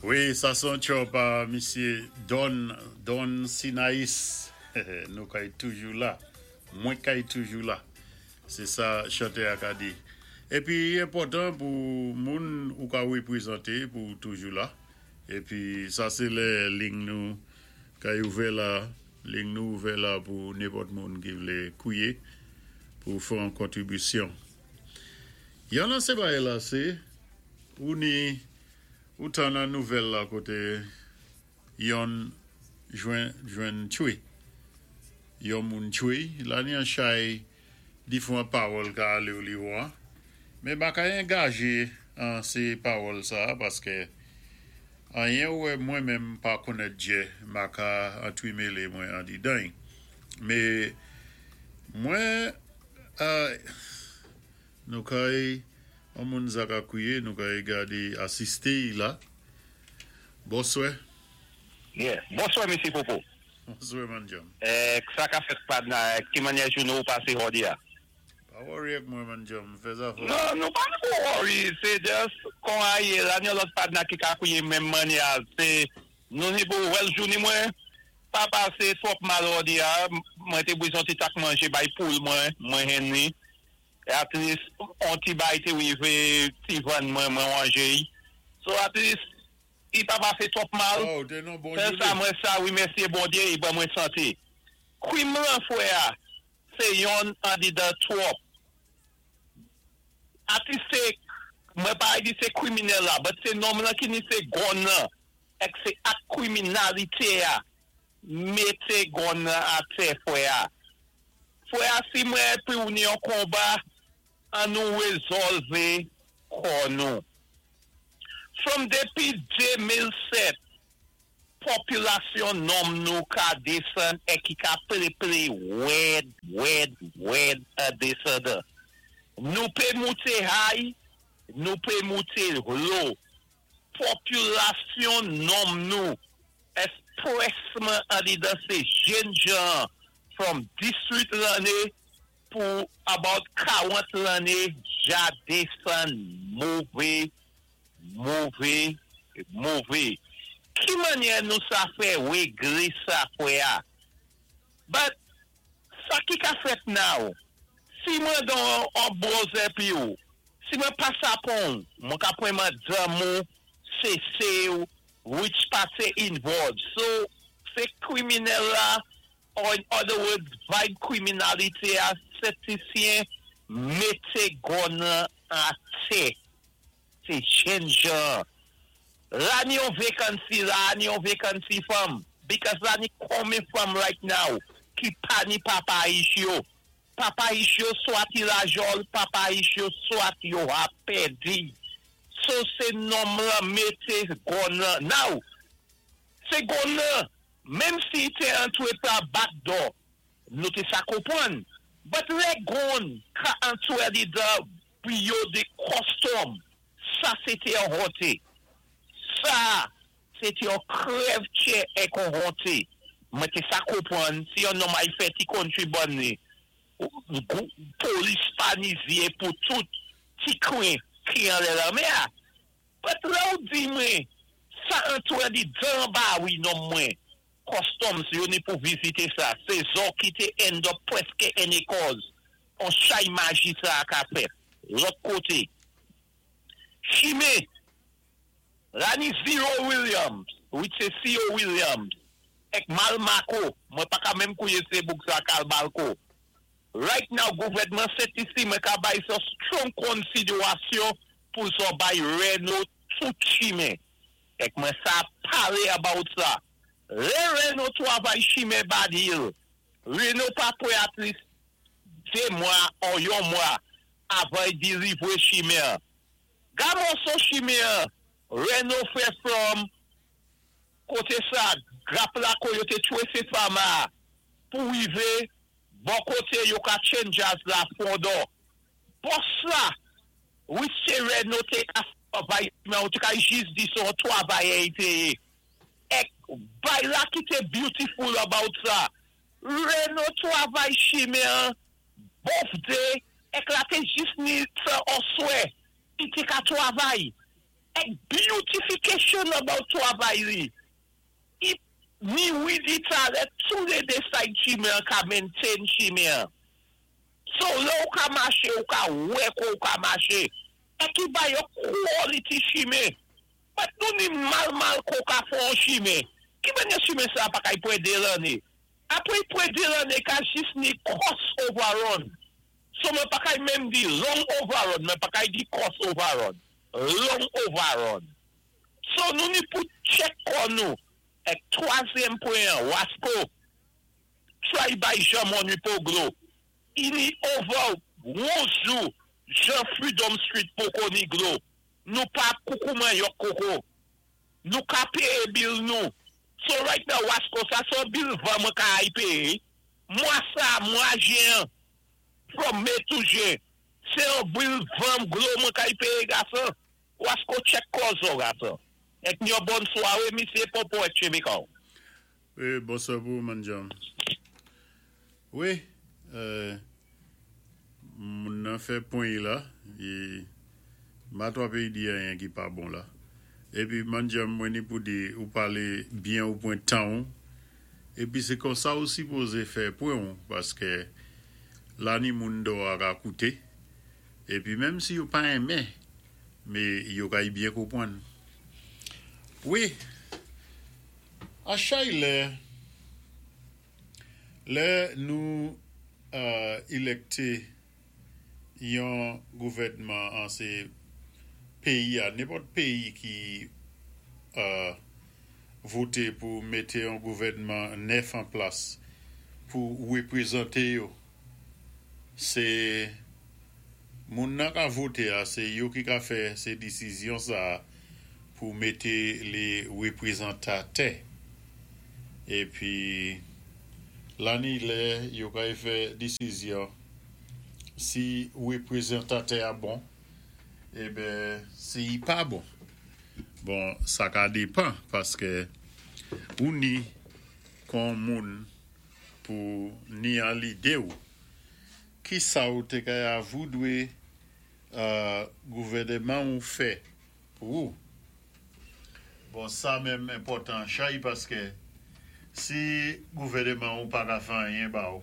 Wi, sa sé yon tjò pa misyé Don Don Sinaïs. Nou kay toujou la. Mwen kay toujou la. Sé sa chantè-a ka di. Épi enpòtan pou moun ou ka wépwézanté pou toujou la. Épi sa sé lè ling nou kay ouvè la, ling nou ouvè la pou nenpòt moun ki vlé kwié pou fè yon kontribisyon. Yon nan sé bagay la sé ou ni ou tan nan nouvèl la koté yonn jwenn jwenn tchwé yon moun tchwé la ni an chay difwan pawòl ka alé ou li wan men ma ka engajé an sé pawòl sa paskè anyen ou wè mwen menm pa konnèt djè ma ka antwimélé mwen andidany mé mwen Nou kay on moun sa ka kwiye nou kay gade asiste y la. Bonswè. Yeah. Bonswè Mesye Popo. Bonswè man djanm. Sa ka fèt padna ki mannyè jounen ou pase jodi a? Pa worry ak mwen man djanm, fè zafè w. Non, nou pa pou worry, se just kon a ye la ni yon lòt padna ki ka kwiye menm mannyè a se nou ni pou well jounen mwen pa pase twòp mal jodi a, mwen te bezwen yon ti tak manje bay poul mwen, mwen henn li. At least on ti bay te rive ti vann mwen mwen wanje y. So at least i pa pase twòp mal. Oh, te non bon Sèl sa mwen sa remèsye Bondye i ban mwen sante. Krim lan frè a se yonn andedan twòp. At least se mwen pa di se kriminèl la but se nonm lan ki ni se gun lan ek se ak kriminalite a mete gun lan atè frè a. Frè a si mwen epi ou ni yon konba an nou rezòlve kò nou. From depi 2007 popilasyon nonm nou ka desann e ki ka ple ple wèd wèd wèd an desandan. Nou pe moute high, nou pe moute low. Popilasyon nonm nou espresman andedan se jenn jan from 18 lanné pou about 40 lanné ja desann move move move. Ki mannyè nou sa fè réglé sa frè a? But sa ki ka fèt now, si mwen don on browser pi ou, si mwen pa sapon, mwen ka pwen madanm ou, sese ou, which pa se involved. So, se kriminèl la, or in other words, vibe kriminalité a, septisyen, mété gun nan atè. Se jenn jan. La ni yon vacancy, la ni yon vacancy fanm. Because la ni konmen fanm right now ki pa ni papa ich yo. Papa ich yo swat i lajòl, papa ich yo swat yo a pèdi. So se nonm lan mété gun lan. Now, se gun lan, menm si te antre pa back door, nou te sa konpwann. But lè gun ka antre li dan biwo de custom, sa sé té yon honte. Sa, sé té yon krèv tchè ek yon honte. Mwen té sa konpwann, si yon nonm ay fè ti kontribòn ni, polis pa ni zyé pou tout ti kwen ki anlè lanmè a. But lè ou di mwen, sa antre di dan ba wi nonm mwen, customs yo ni pou vizité sa, sé zo ki té end up prèské en ékòz, on chay maji sa a ka fèt. Lòt koté, chimen, la ni Zero Williams, which se C.O. Williams, ek Malmako, mwen pa ka menm kouye se bouk sa kal balko. Right now, gouvèdman Sent-Lisi mwen ka bay so strong konsiderasyon pou zo bay Reno tout chimen. Ek mwen sa pale about sa. Lè Reno travay chimen Bad Hill, Reno pa pwe at least 2 mwa ou yon mwa avan y delivre chimen. Ga mòso chimen, Reno fè from koté sa, grap la ko yo te tchwé se fama pou rivé bon koté yo ka change la fondon. Bòs la, wi se Reno te ka travay men ou te ka jis di son travayè y te ye. Ek bay la ki te beautiful about sa. Reno travay chimen both day ek la te jis ni sa oswe, i te ka travay. Èk beautification about twavay li. I ni Willie Talè tou lé dé side chimen ka maintain chimen. So lè ou ka maché, ou ka wè kwa ou ka maché. Èk i bay yo quality chimen. But nou ni mal mal ko ka fè an chimen. Ki manyè chimen sa pa kay pwé dé lanné? Apwé pwé dé lanné ka jis ni cost overrun. So mwen pa kay menm di long overrun, mwen pa kay di cost overrun. Long overrun. So nou ni pou check kon nou. Èk twazyèm pwen, Wasco, try bay Jean Mon Poglo. I ni over 11 jou, Jean Freedom Street poko ni glo. Nou pa koukou manyòk koko. Nou ka péyé bill nou. So right now, Wasco, sa son bill van mwen ka ay péyé. Mwa sa, mwa jen, from May to June, sé yon bill van glo mwen ka ay péyé gason. Wasco check kozo gason. Èk yon bon swawé, misyé Popo èk Chemikaw. Wi, bonswa pou Manjam. Wi, moun nan fè pwen la, é m pa twò péyi di anyen ki pa bon la. Épi Manjam mwen ni pou di ou palé byen ou pwan tan ou, épi sé kon sa ou sipozé fè pwen ou, paské la ni moun do a ka kouté, épi menm si yo pa enmen, mé yo kay byen konpwann. Wi, a chay lè, lè nou élèkté yon gouvèdman an sé péyi a, nenpòt péyi ki voté pou mété yon gouvèdman nèf an plas pou wépwézanté yo. Sé moun nan ka voté a, sé yo ki ka fè sé désizyon sa pou mété lé wépwézantatè. Épi la ni lè yo kay fè désizyon si wépwézantatè a bon, eh si i pa bon. Bon, sa ka dépan paské ou ni kon moun pou ni an lidé ou. Ki sa ou té kay avoudwé gouvèdman ou fè pou ou? Bon, sa menm enpòtan chay paské si gouvèdman ou pa ka fè anyen ba ou,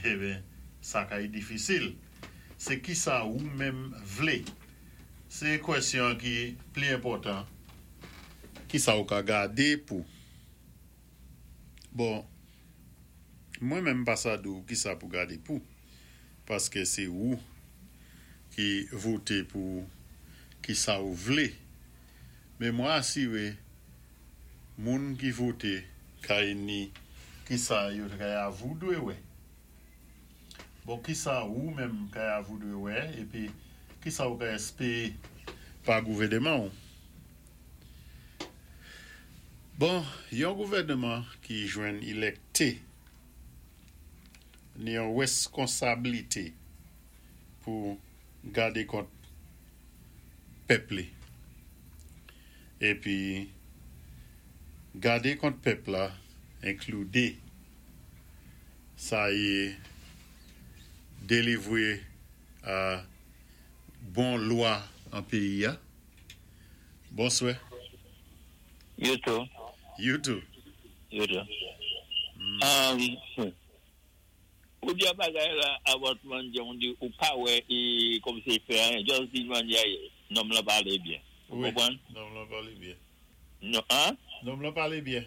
eh sa kay difisil. Sé ki sa ou menm vlé. Sé kwèsyon ki pli enpòtan. Ki sa ou ka gadé pou. Bon, mwen menm pa sa di ou ki sa pou gadé pou. Paské sé ou ki voté pou ki sa ou vlé. Mé mwen asiré moun ki voté kay ni ki sa yo kay avoudwé wè. Bon, ki sa ou menm kay avoudwé wè, épi ki sa ou kay èspéwé pa gouvèdman ou. Bon, yon gouvèdman ki jwenn élèkté ni yon wèskonsablité pou gadé kont pèp li. Épi gadé kont pèp la enkloudé sa yé délivwé a bon lwa an péyi a. Bonswè. You too. You too. You too. Ou di a bagay la about manje, on di ou pa wè e kòm sé fè an, just di manje nonm la palé byen. Ou Wi, konpwann? Nonm la palé byen. Non, an? Nonm la palé byen.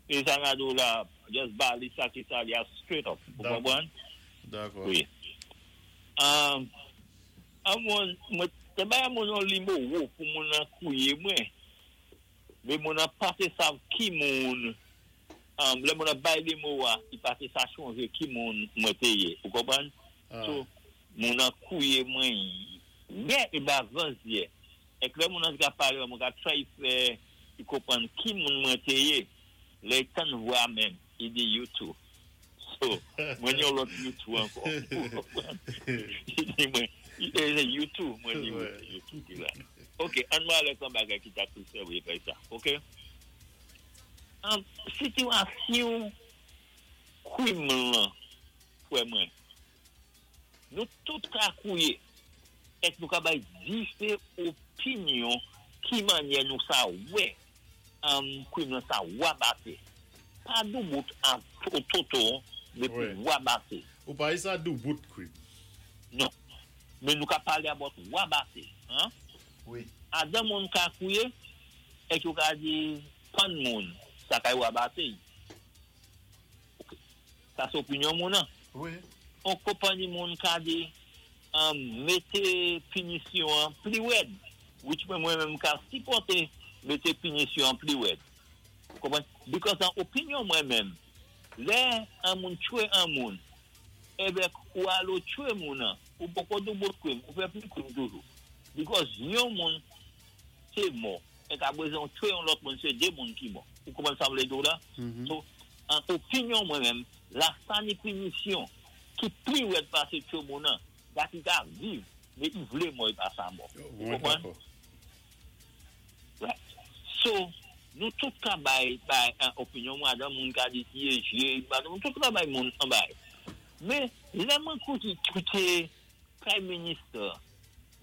E sa nga do la, just ba li sa ki sa li a straight up. Ou Dakò. konpwann? Dakò. Wi. An moun, mwen, te bay moun an limo pou moun an kouye mwen. Mé moun an pa té sav ki moun, lè moun an bay limo a, i pa té sa chonjé ki moun mwen té yé. Ou konpwann? So, moun an kouye mwen yè e ba vanzyè. Èk lè moun an ka palé, mwen ka try fè i konpwann ki moun mwen té yé. Lè tan vwa menm, i di "You too." So, mwen yon lòt you too ankò. Ou konpwann? I di mwen, i di "You too", mwen di "You too" ki la. Ok, an mwen alè kan bagay ki ta tou sèwi fè sa. Ok? Sitiyasyon kwim lan, fwè mwen, nou tout ka kouye, èk nou ka bay difé opinyon. Ki mannyè nou sa wè kwim lan sa wabaté. Pa doubout a toto men pou wabaté. Ou pa sa doubout kwim. Non. Men nou ka palé about wabaté. Wi. Adan moun ka kwiyé, èk yo ka di pann moun, sa kay wabaté. Ok. Sa sé opinyon moun an. Wi. On konpanni moun ka di mété pinisyon an pli wèd. Which mwen menm ka sipòté mété pinisyon an pli wèd. Konprann? Because an opinyon mwen menm, lè an moun tchwé an moun, èvèk ou alo tchwé moun an, ou poko doubout kwim, ou fè pli kwim toujou. Because yon moun té mò, èk apré ou tchwé yon lòt moun, sé dé moun ki mò. Ou konprann sa m vlé di ou la? So, an opinyon mwen menm, la sa ni pinisyon ki pli wèd pasé tchwé moun an, dat i ka viv, mé i vlé mò, i pa sa mò. Ou konprann? Right. So, nou tout ka bay bay an opinyon mwen, adan moun ka di tiye jye, nou tout ka bay moun an bay. Mé, lè mwen kouté kouté Prime Minister,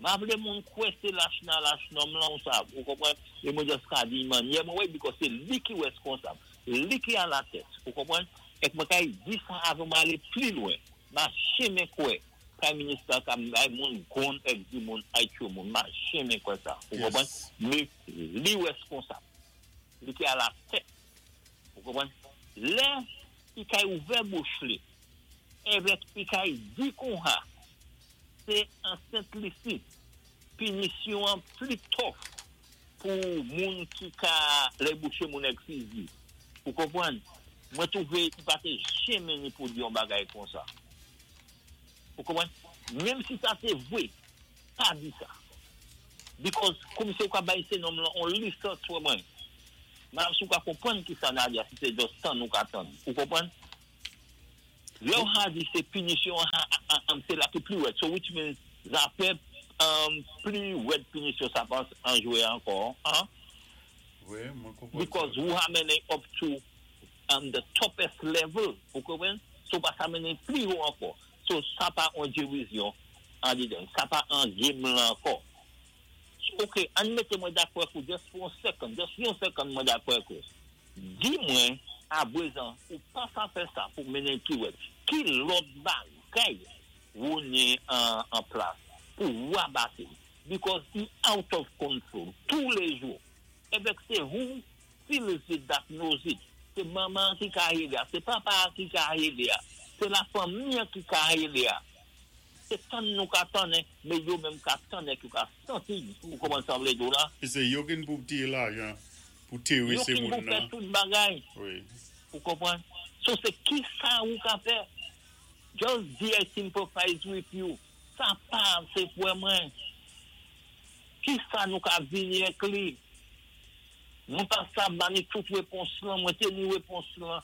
ma vlé moun kwè sé lach nan lach nonm lan ou sa, ou konprann? É mwen just ka di mannyè mwen wè, because sé li ki wèskonsab, li ki a la tèt, ou konprann? Èk mwen kay di sa avan mwen alé pli lwen, ma jenmen kwè Prime Minister ka bay moun gon èk di moun ay tchwé moun, ma jenmen kwè sa, ou konprann? Mé li wèskonsab, li ki a la tèt, ou konprann? Lè i kay ouvè bouch li, èvèk i kay di konha, sé an Sent Lisi, pinisyon an pli tough pou moun ki ka lè bouché moun èk fizi. Ou konprann? Mwen twouvé i pa té jenmen ni pou di yon bagay konsa. Ou konprann? Menm si sa sé vwé, pa di sa. Because kòm si ou ka bay sé nonm lan on lisans pou mwen. Ma si ou ka konprann ki sa Nadia, si sé just tann ou ka tann. Ou konprann? Lè ou ha di sé pinisyon an sé la ki pli wèd. So which means zafè pli wèd pinisyon sa pa an jwé ankò. Wi, mwen konprann. Because ou ha mennen up to the toughest level. Ou konprann? So pa sa mennen pli wo ankò. So sa pa an diwizyon an didan. Sa pa an game lan ankò. Ok, an mété mwen dakò kou just for a second, just yon second mwen dakò kou. Di mwen, aprezan, ou pa sa fè sa pou mennen ki wèd. Ki lòt bagay ou ni an plas pou wabate. Because he out of control tous les jours. Evèk sé who feels it that knows it. Sé manman ki ka hédé a, sé papa ki ka hédé a, sé la fanmi ki ka hédé a. Sé tann nou ka tann, mé yo menm ka tann ki ka santi ou konprann sa m vlé di ou la. É sé yo ki pou tiré lajan pou téwé Yo sé ki moun pou fè nan. tout bagay. Wi. Ou konprann? So sé ki sa ou ka fè? Just di I sympathize with you. Sa pa sé pou mwen. Ki sa nou ka vini ak li? Mwen pa sa bani tout wépons lan, mwen té ni wépons lan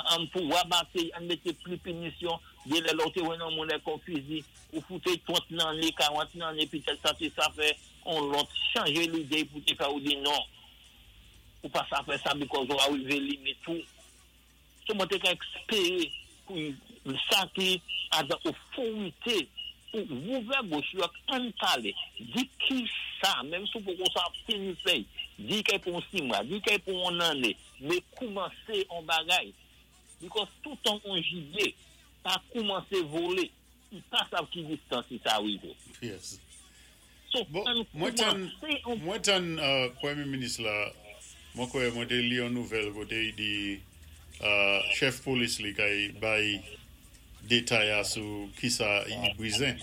an pou wabaté, an mété pli pinisyon, dé lè lò té wè nan moun èk on fizi, ou fouté 30 nan 40 nan, pitèt sa té sa fè, on lòt chanjé lidé pou té fè ou di non. Ou pa sa fè sa because ou arivé limit ou. So mwen té ka èspéré pou sa ki a dan otorité pou ouvè bouch yo an palé. Di ki sa, menm si pou sa fini fè, di kay pou 6 mwa, di kay pou on anné, mé koumansé on bagay. Because toutan on jibyé pa koumansé volé, i pa sav ki distans si sa arivé. So, Bon, an mwen tan, koumansé on mwen tan Premyé Minis la, mwen kwè mwen té li yon nouvèl koté i di chèf polis li kay bay détay a sou ki sa i bwizen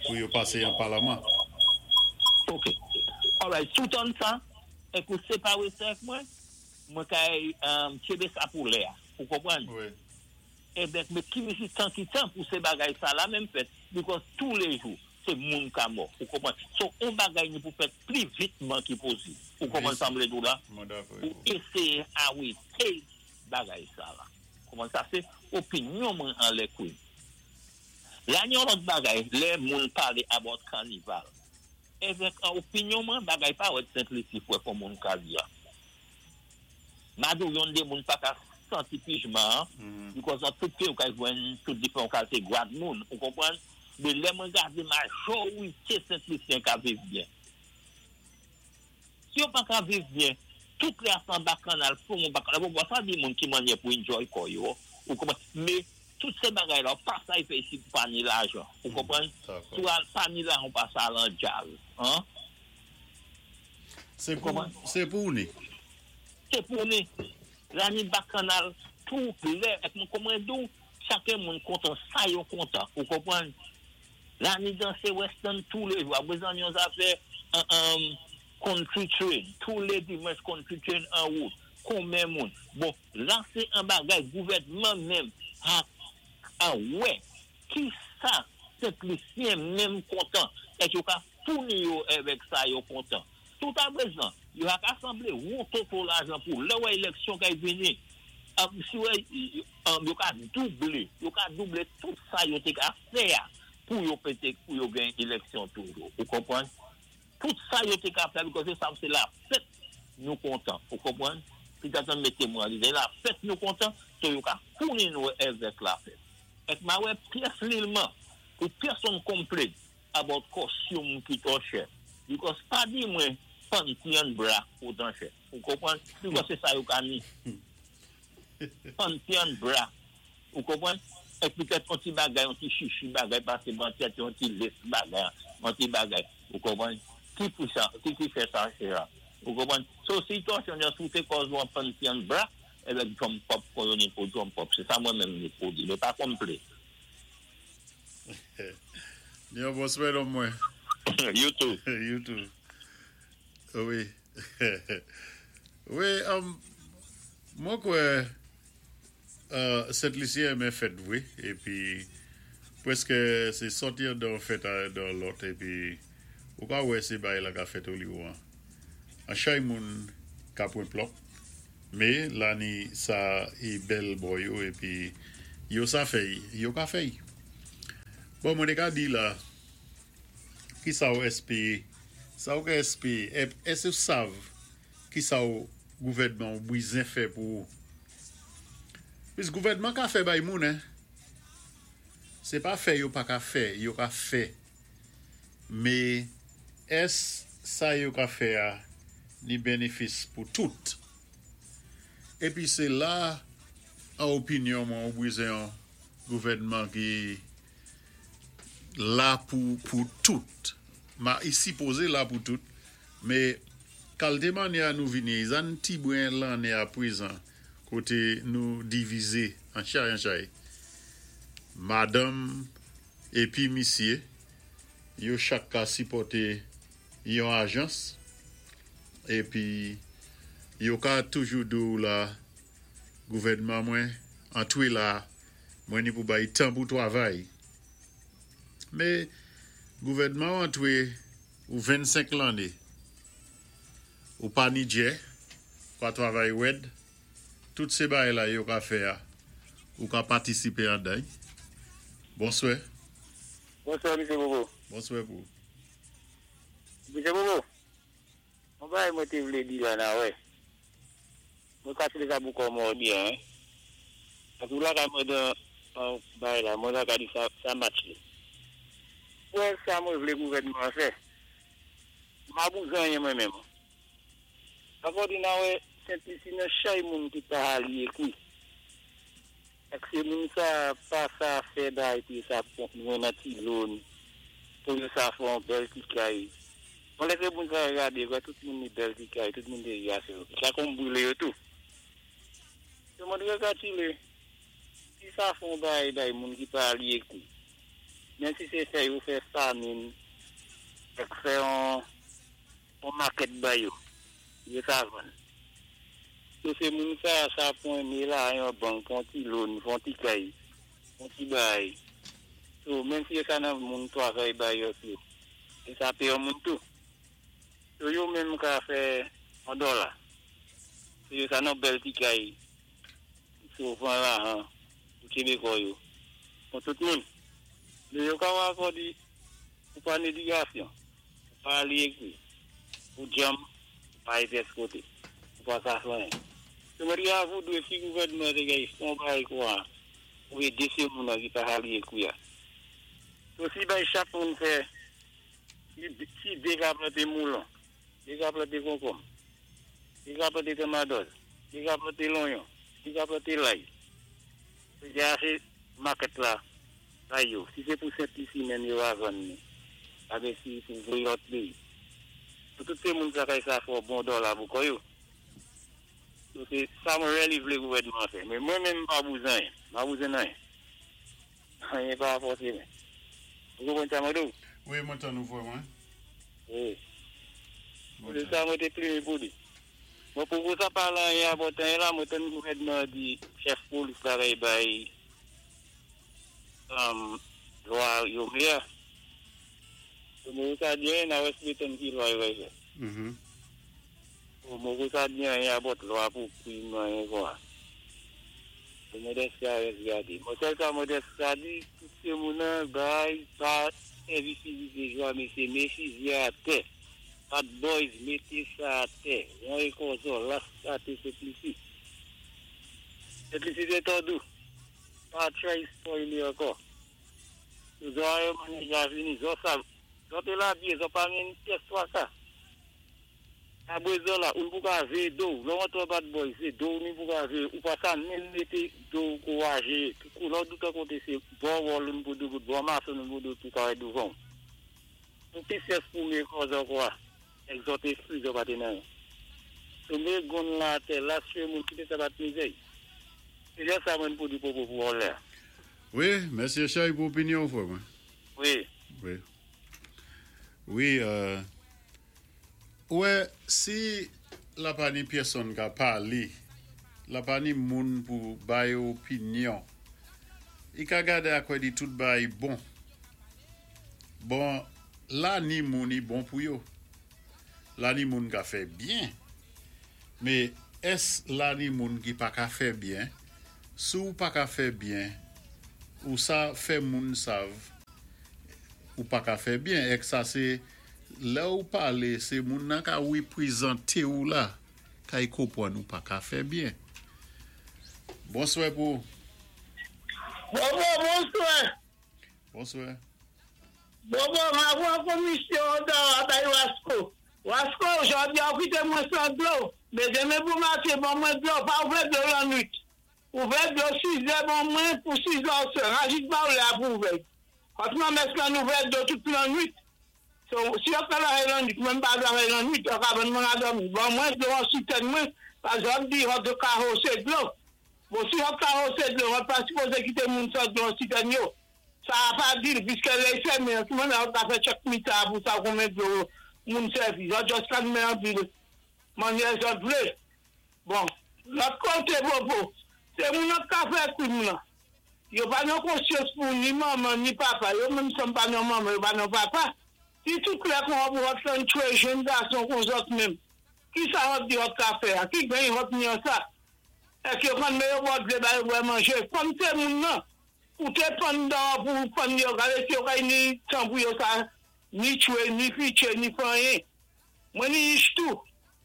pou yo pasé an palaman. Ok. Alright, toutan sa, èk ou séparé sa ak mwen, mwen kay tchébé sa pou lè a. Ou konprann? Wi. Ebyen, mé ki misi tan ki tan pou sé bagay sa la menm fèt, because tous les jours, sé moun ka mò. Ou konprann? So, on bagay ni pou fèt pli vitman ki posib. Ou konprann sa m vlé di ou la? Mwen dakò. Pou éséyé arété bagay sa la. Konprann sa? Sé opinyon mwen an lè kouy. La ni yon lòt bagay, lè moun palé about kanival. Evèk an opinyon mwen, bagay pa wèd Sent Lisi fwè kon moun ka di a. Madou yon de moun pa ka santi pijman, because an tout pe ou ka jwenn tout diferan kalté gwad moun, ou konprann? Mé lè mwen gadé majorité Sent Lisyen ka viv byen. Si yo pa ka viv byen, tout lè an bakanal, pou moun bakanal, bon, sa di moun ki manyè pou enjoy kò yo, ou konpwann? Mé tout sé bagay la, pa sa y fè isi pa ni lajan, ou konpwann? Dakò. Tou al, pa ni lajan, pa sa lan djaz, hein? Sé pou, sé pou ni. Sé pou ni. La ni bakanal, tout lè, ek mwen konpwann dou, chaken moun kontan, sa yo kontan, ou konpwann? La ni dansé western tous les jours. Apwézan yon zafè un country train, tous les dimanches country train en route. Konbyen moun? Bon, la sé an bagay gouvèdman menm a, a wè ki sa Sent-Lisyen menm kontan ek yo ka founi yo avèk sa yo kontan. Tout apwézan, yo ak asanblé won toto lajan pou lè wè éleksyon kay vini. Si wè yo ka doublé, yo ka doublé tout sa yo té ka fè a pou yo pété pou yo gen éleksyon toujou. Ou konpwann? Tout sa yo té ka fè because yo sav sé la fèt nou kontan. Ou konpwann? Pi tatan mété mwen lidé la fèt nou kontan, so yo ka founi nou avèk la fèt. Ek ma wè pyès lilman pou pèsonn complain about costume ki twò chè. Because pa di mwen panty and bra otan chè. Ou konpwann? Because sé sa yo ka ni. Panty and bra. Ou konpwann? Ek petèt an ti bagay, an ti chichi bagay, pasé ban tèt, an ti lace bagay, an ti bagay. Ou konpwann? Ki pou sa, ki fè sa chè a? Ou konpwann? So, si twò chè, on soute kòz ou an panty and bra, avèk jump up, kon yo ni pou jump up. Sé sa mwen menm ni pou di. Mé pa complain. Yon bonswè lòm mwen. You too. You too. Wi. Wi, mwen kwè Sent-Lisyen renmen fèt vwé, épi pwèskè sé sòti dan fèt a dan lòt, épi ou ka wè sé bay la ka fèt oliwon an. An chay moun ka pwen plòp, mé la ni sa i bèl bò yo épi yo sa fèy, yo ka fèy. Bon, mwen té ka di la, ki sa ou èspéwé, sa ou ka èspéwé, èské ou sav ki sa ou gouvèdman ou bwizen fè pou ou? Pis gouvèdman ka fè bay moun, hein? Sé pa fè yo pa ka fè, yo ka fè. Mé ès sa yo ka fè a ni bénéfis pou tout? Épi sé la an opinyon mwen ou bwizen an gouvèdman ki la pou tout. Ma i sipozé la pou tout, mé kalité manyè a nou vini, zan ti bren lanné a pwézan koté nou divizé an chay an chay. Madanm épi misyé, yo chak ka sipòté yon ajans épi yo ka toujou di ou la gouvèdman mwen antwé la mwen ni pou bay tan pou twavay. Mé gouvèdman antwé ou 25 lanné ou pa ni djè, pa twavay wèd, tout sé bagay la yo ka fè a, ou ka patisipé anday. Bonswè. Bonswè, Misye Bobo. Bonswè pou. Misye Bobo, mwen bagay mwen té vlé di la nan wè. Mwen kalkilé sa pou kò mwen byen, hein. Paski la kay mwen dan an bagay la, mwen ka di sa, sa match li. Wè sa mwen vlé gouvèdman an fè. Ma bouzan yen mwen menm. Akò di nan wè Sent-Lisi nan chay moun ki pa li ékwi. Ek sé moun sa pa sa fè bay pou yo sa mwen nan ti loan, pou yo sa fè an bèl ti kay. Bon lè sé moun sa gadé, kwa tout moun ni bèl ti kay, tout moun té yase yo. Sa kon bwilé yo tou. So mwen rekatile, si sa fon bay bay moun ki pa li ékwi. Men si sé fè yo fè famin, ek fè an market bay yo, yo sa vann. So sé moun sa, sa pon ni la yon bank, fon ti loan, fon ti kay, fon ti bay. So men si yo sa nan moun twavay bay yo tou, yo sa pé yon moun tou. So yo menm ka fè an dola. So yo sa nan bèl ti kay, so van la han, ou Québécois yo. Pou tout moun. Mé yo ka wè di, ou pa ni édikasyon, ou pa li ékwi, ou djanm, ou pa épès koté, ou pa sa fè anyen. So mwen di avou dwé si gouvèdman té gay fon bay kwa, ou édé sé moun an ki pa li ékwi a. So si bay chak moun fè, si dé ka planté moulon, Li ka planté konkonm. Li ka planté tomadòz. Li ka planté lonyon. Li ka planté lay. Li gen asé market la bay yo. Si sé pou Sent Lisi menm yo va vann ni. Abe si pou voyé lòt péyi. Pou tout sé moun sa kay sa fè bon dòla pou kò yo. So sé sa mwen really vlé gouvèdman an fè. Men mwen menm m pa bouzin anyen. M pa bouzin anyen. Anyen pa fòsé mwen. Ou konprann sa mwen di w? Wi, mwen tann ou frè mwen. Wi. Se sa mwen té plimen pou li. Mwen poko sa pale anyen about anyen la, mwen tann gouvèdman an di chèf polis la kay bay lwa yo vle a. Mwen poko sa di anyen, na wè si tann ki lwa yo kay fè. Mwen poko sa di anyen about lwa pou krim anyen konsa. Mwen deske a rès gade. Mwen sèl sa mwen deske sa di, tout se moun an bay pa sèvi fizi de jwa mesye, me fizi a tè. Bad Boys mété sa atè. Won é kòzò, las kate Sentlisi. Sentlisi sé tòdou. Pa try spoil li ankò. Zò a yo manèj la vini. Zò sa, zò té la byé, zò pa menn pyès twaka. Kabre zò la, oun pou ka véyé do w. Lè w antre Bad Boys, sé do w ni pou ka véyé. Ou pa sa menm mété do w kou waje. Kou lè w doutan koté sé bò wòl oun pou doubout, bò mason oun pou doubout pou ka wè douvan w. Pou ki syès pou me kòzò kwa, egzòt espri zò pa té nan. Sou me gonn la atè, las chwe moun kité sa bat mizèy. Sé jan sa mwen pou di popo pou vòlè a. Wi, mèsi Echay pou opinyon ou frè mwen. Wi. Wi. Wi, ou wè, si la pa ni pyèsonn ka palé, la pa ni moun pou bay opinyon, i ka gadé akwè di tout bay bon. Bon, la ni moun i bon pou yo. La ni moun ka fè byen. Mé ès la ni moun ki pa ka fè byen? Si ou pa ka fè byen, ou sa fè moun sav ou pa ka fè byen. Èk sa sé lè ou palé sé moun nan ka wipwizanté ou la kay konpwann ou pa ka fè byen. Bonswè pou ou. Bobo bonswè. Bonswè. Bobo mavwan komisyon Odawa bay Wasko. Wasko jodi a ou kite mwen san dlo, men demen pou maten ban mwen dlo, pa ouvè dlo lannwit. Ouvè dlo 6 zè ban mwen pou 6 zè oswè, rajit ba ou lè a pou ouvè. Kòt nan mès lan ouvè dlo tout lannwit. So, si yo travay lannwit, mwen m pa travay lannwit, yo ka ban mwen a dòmi. Ban mwen dlo an sitèn mwen, paske wap di hòt ka hose dlo. Bon si hòt ka hose dlo, hòt pa sipoze kite moun san dlo an sitèn yo. Sa a pa di l, piskè lè y fèmen an, ki mannyè hòt ka fè chèk mita a pou sa konbyen dlo moun sèvi. Zòt jòs ka nmen anpil mannyè zòt vle. Bon, lòt kote Popo, se moun an k ka fè krim lan. Yo pa nan konsyans pou ni manman ni papa. Yo menm sanm pa nan manman, yo pa nan papa. Si tout klè kon hòp hòt lan tchwe jenn gason kon zòt menm, ki sa hòt di hòt ka fè a? Ki geny hòt ni an sa? Èk yo konn men yo bòt vle ba yo bwè manje? Kòm se moun nan, Ou té pann dan pou pann yo gade si yo kay ni tan pou yo sa ni tchwé ni fiché ni fè anyen mwen ni ich tou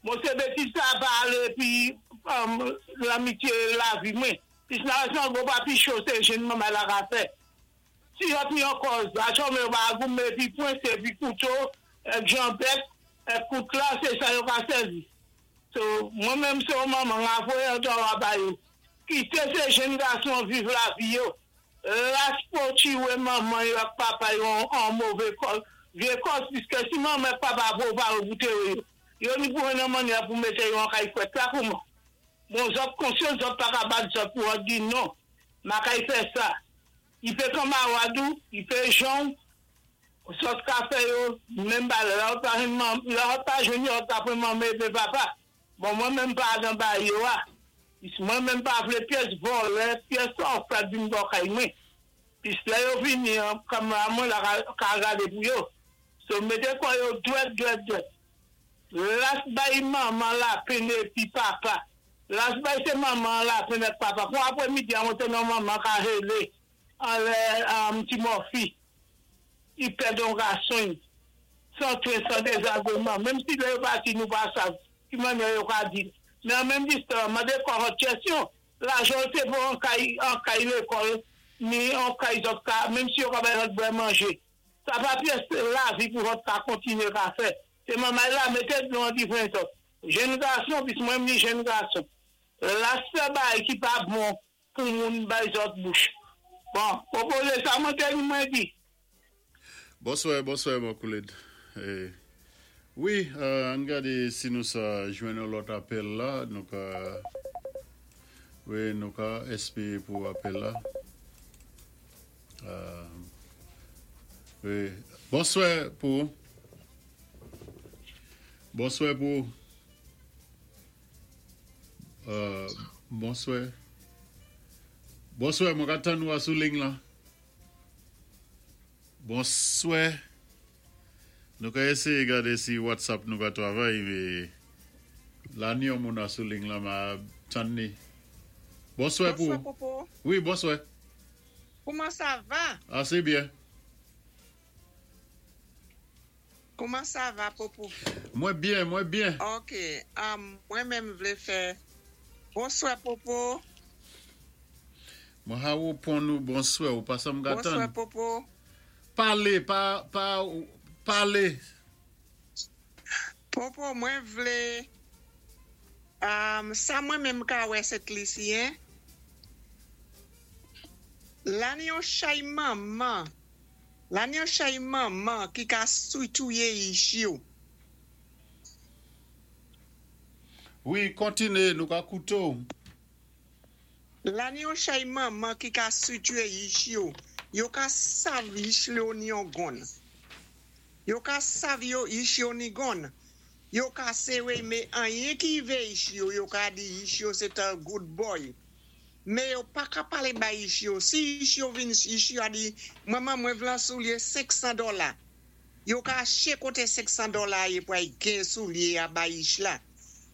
bon sé betiz sa pa alé epi lan mitye lavi mwen pis nan rès lan gwo pa pi cho sé jenn manmay la ka fè si yòt ni yon kòz achò men yo pa goumen epi pwen sé epi kouto èk janbèt èk kout la sé sa yo ka sèvi so mwen menm sé yon manman nga voyé antò a ba yo. Kite se jenn gason viv lavi yo. Las po tchiwe manman yo ak papa yo an move kòz, vye kòz piske si manman ak papa vo va yo pou tere yo. Yo ni pou nan mannyè pou mete yo an kay frèt la kouman. Bon zòt konsyans zòt pa ka bat zòt pou an di non. Makay fè sa. I pe kanmarad ou, i pe jan ou, zòt ka fè yo menm bagay. Lè zòt pa jwenn manm, lè zòt pa jwenn yo zòt ka pran manman e pe papa. Bon mwen menm pa nan bay yo a. Mwen menm pa vle pyès vòlè, pyès òfèv vin bò kay mwen. Pis lè yo vini an kamera mwen la ka gade pou yo. So mete kò yo dwèt dwèt dwèt. Las bay manman lapin epi papa. Las bay se manman an lapin ak papa. Kon aprè midi a mwen te nan manman ka rele anlè ti mòfi. I pèd on gason y san tren san dezagreman. Menm si lè yo pati nou pa sav ki mannyè yo ka di l. Men an menm distan mande kò hòt chèsyon. Lajan l te pou an kay an kay lekòl ni an kay zòt ka menm si yo ka bay hòt bwè manje. Sa pa pyès lavi pou hòt ka kontinye ka fè. Sé manmay la mété dlo an diven to. Jenn gason, pis mwen ni jenn gason. La sé bay ki pa bon pou moun bay zòt bouch. Bon, pwopozé sa mwen té mwen di. Bonswa, bonswa, mon kòlèg. Eh, wi, ann gadé si nou sa jwenn lòt apèl la. Nou ka, wi, nou ka éspéwé pou apèl la. Wi. Bonswa pou. Bonswa pou. Bonswa. Bonswa, mwen ka tann ou sou liy la. Bonswa. Nou ka éséyé gadé si WhatsApp nou ka travay, mé la ni yon moun sou liy la, m ap tann ni. Bonswa pou. Bonswa, Popo. Wi, bonswa. Kouman sa va? Ah, sé byen. Kouman sa va, Popo? Mwen byen, mwen byen. Ok. Mwen menm vlé fè. Bonswa, Popo. Mwen ha ou pon nou bonswa ou pa sa m Bonswa, gatan. Popo. Palé, pa, pa, palé. Popo, mwen vlé. Sa mwen menm ka wè Sent Lisi, en? La ni yon chay manman. La ni yon chay manman ki ka sou touyé ich yo. Wi, kontiné, nou ka kouté ou. La ni yon chay manman ki ka sou touye ich yo. Yo ka sav ich yo ni yon gun. Yo ka sav yo ich yo ni gun. Yo ka séwé mé anyen ki vé ich yo, yo ka di ich yo sé a good boy. Mé yo pa ka palé bay ich yo. Si ich yo vin ich yo a di, manman mwen vlé soulyé 500 dola. Yo ka chèché koté 500 dola yé pou ay gen soulyé a bay ich la.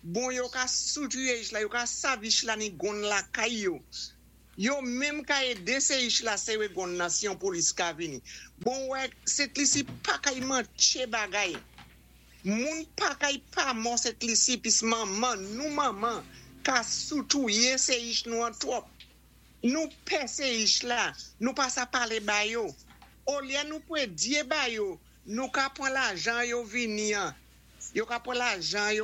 Bon yo ka sou touye ich la, yo ka sav ich la ni gun lakay yo. Yo menm ka édé sé ich la séwé gun nan si yon polis ka vini. Bon wè, Sent Lisi pa kay mantché bagay. Moun pa kay pa mò Sent Lisi pis manman, nou manman, ka sou touye sé ich nou an twòp. Nou pè sé ich la, nou pa sa palé ba yo. Olyé nou pwédyé ba yo, nou ka pwan lajan yo vini an. Yo ka pwan lajan yo.